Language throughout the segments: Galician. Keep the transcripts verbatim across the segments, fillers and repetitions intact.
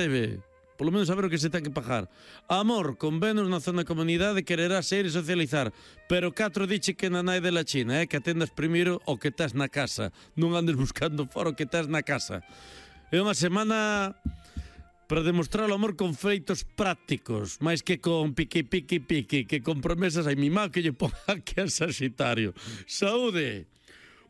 debe. Polo menos saber o que se ten que pagar. Amor, con Venus na zona comunidade quererás ir e socializar, pero catro diche que na nai de la China, eh, que atendas primeiro o que estás na casa, non andes buscando fora o que estás na casa. É unha semana para demostrar o amor con feitos prácticos, máis que con piqui, piqui, piqui, que con promesas hai mi má que lle ponga aquí a Saxitario. Saúde!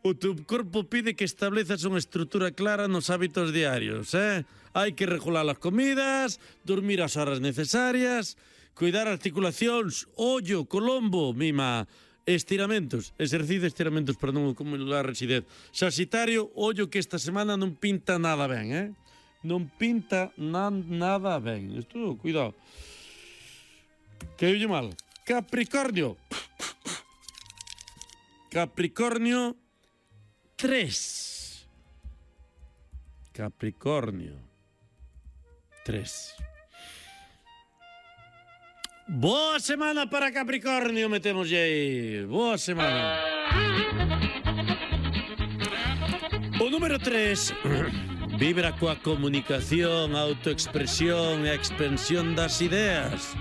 O teu corpo pide que establezas unha estrutura clara nos hábitos diarios, eh? Hai que regular as comidas, dormir as horas necesarias, cuidar articulacións, ollo, colombo, mima, estiramentos, exercicio de estiramentos para non acumular residez. Saxitario, ollo que esta semana non pinta nada ben, eh? Non pinta na, nada ben. Isto, cuidado. Que oye mal. Capricornio. Capricornio tres. Capricornio tres. Boa semana para Capricornio, metemos aí. Boa semana. O número tres vibra coa comunicación, autoexpresión e expansión das ideas.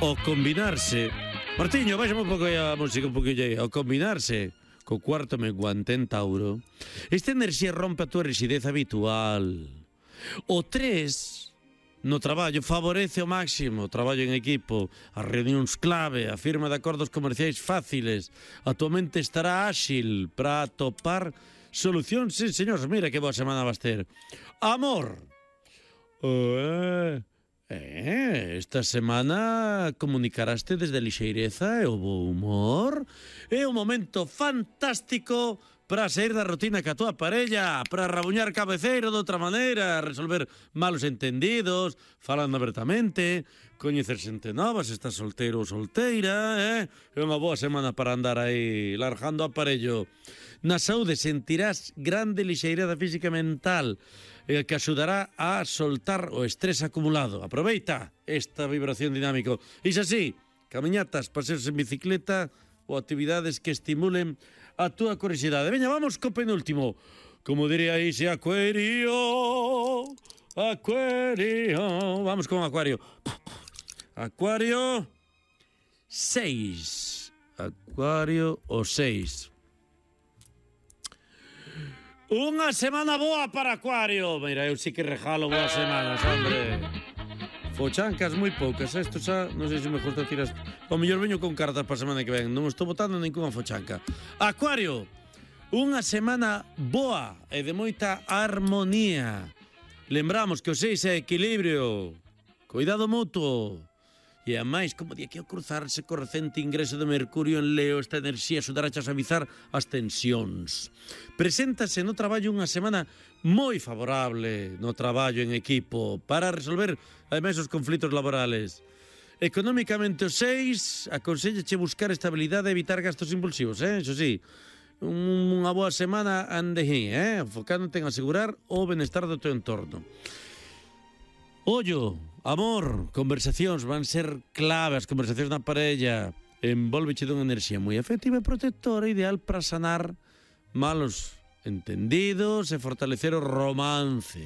O combinarse, Martiño, baixame un pouco a música, un pouquinho aí. O combinarse co cuarto menguante en Tauro, esta enerxía rompe a túa rigidez habitual. O tres, no traballo, favorece ao máximo o traballo en equipo, as reunións clave, a firma de acordos comerciais fáciles. A tua mente estará áxil para atopar solucións. Sí, señores, mira que boa semana vas ter. Amor. Eh... Eh, esta semana comunicaraste desde a lixeireza e o bo humor. É un momento fantástico para sair da rutina ca tua parella, para rabuñar cabeceiro de outra maneira, resolver malos entendidos, falando abertamente, coñecer xente nova, se estás solteiro ou solteira, eh? É unha boa semana para andar aí largando o aparello. Na saúde sentirás grande lixeireza física e mental, eh, que axudará a soltar o estrés acumulado. Aproveita esta vibración dinámico. Iso así, camiñatas, paseos en bicicleta ou actividades que estimulen a túa curiosidade. Veña, vamos co penúltimo. Como diría ese Acuario, Acuario. Vamos con Acuario. Acuario seis. Acuario o seis. Unha semana boa para Acuario. Mira, eu sí que regalo boas semanas, hombre. Fochancas moi poucas, isto xa, non sei se me gusta tiras. O mellor veño con cartas para a semana que ven. Non estou botando ninguna fochanca. Acuario, unha semana boa e de moita armonía. Lembramos que o seis é equilibrio, cuidado mutuo. E a máis, como di aquí, ao cruzarse co recente ingreso de Mercurio en Leo, esta enerxía axudará a suavizar as tensións. Preséntase no traballo unha semana moi favorable no traballo en equipo para resolver, ademais, os conflitos laborales. Económicamente, o seis aconsellache buscar estabilidade e evitar gastos impulsivos, eh? Iso sí, unha boa semana ande aí, eh? Enfocándote en asegurar o benestar do teu entorno. Ollo, amor, conversacións van ser clave, as conversacións na parella. Envolveche dunha enerxía moi afectiva e protectora, ideal para sanar malos entendidos e fortalecer o romance.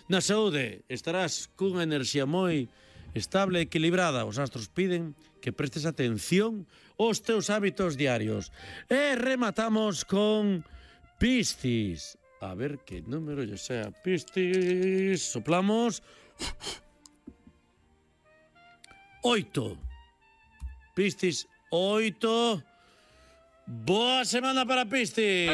Na saúde estarás cunha enerxía moi estable e equilibrada. Os astros piden que prestes atención aos teus hábitos diarios. E rematamos con Piscis. A ver que número yo sea. Piscis. Soplamos. Oito. Piscis, oito. Boa semana para Piscis.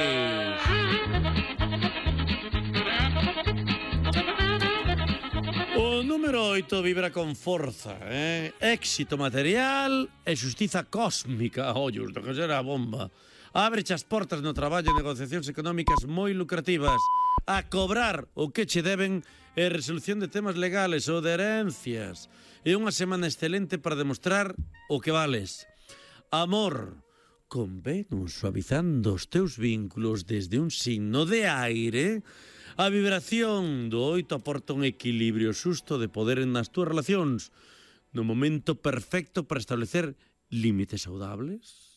O número oito vibra con forza, eh? Éxito material e xustiza cósmica. Ollo, isto que será a bomba. Ábreche as portas no traballo e negociacións económicas moi lucrativas. A cobrar o que che deben e resolución de temas legales ou de herencias. É unha semana excelente para demostrar o que vales. Amor, con Venus suavizando os teus vínculos desde un signo de aire, a vibración do oito aporta un equilibrio xusto de poder nas túas relacións, no momento perfecto para establecer límites saudables,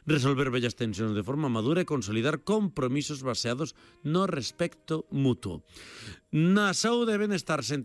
resolver bellas tensións de forma madura e consolidar compromisos baseados no respecto mutuo. Na saúde e benestar, sentir